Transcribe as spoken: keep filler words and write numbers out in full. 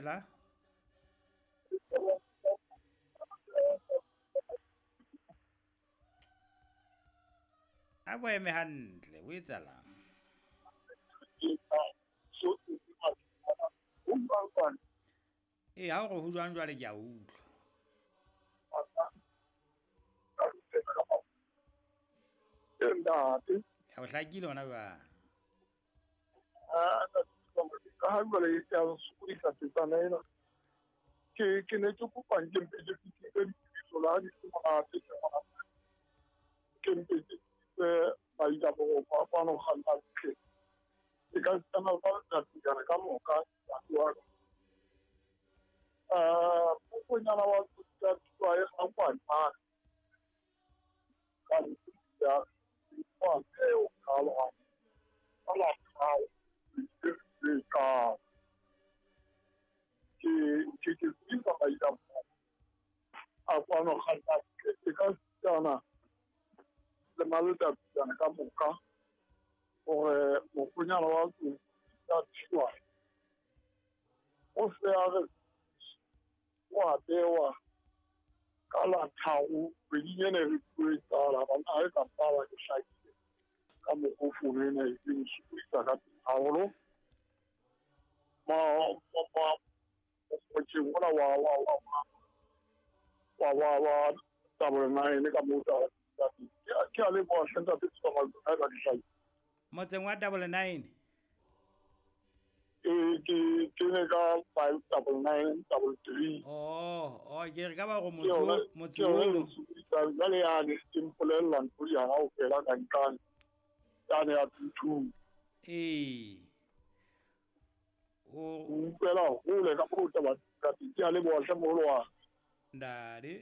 Dumela. A ko eme hantle, o etsahalang? Ee, ha o re ho jwang jwale ke a utlwa. Ntate. Ya o hlakile hona jwale. Ah, ka ha jwale e a sokodisa tsetsana ena. Ke ke ne ke kopa nke mpe ke fihlise ditsebiso la di se monate ke monate. Ke mpe ke tsebise baila-boroko a kwano kganna ntle. E ka sitana ba letsatsi ka moka ntate wa ka. Eh, mokgonyana wa tsa thuwa e gangwane mane. Ka ya wa eo ka la ka la ka ka ke ke ke tsebisa baila-boroko a kwano kganna ntle. E ka sitana le maletsatsi ka moka hore mokgonyana wa tsa thuwa o se a re wa bewa ka la tharo kgweding ena e re tlo e qala banna ha e ka mpaba ke hlakile ka mokgo fono ena e nsokodisa ka teng haholo. Ma ma motseng ona wa wa wa wa wa wa double nine ka moo tsa ke a leboha hle ntate Tshomazo ha eba ke hlakile. Motseng wa double nine? Ee, ke ke ne ka five double nine double three. Oh, oh, ke re ka ba go Ke yona motse ke yona e ono. nsokodisang jwale yane e mpolella ntho di kaofela ka nqane yane ya two two. Ee. O O utlwela hole ka moo taba ka teng. Ke a leboha hle moholo wa ka. Ntate.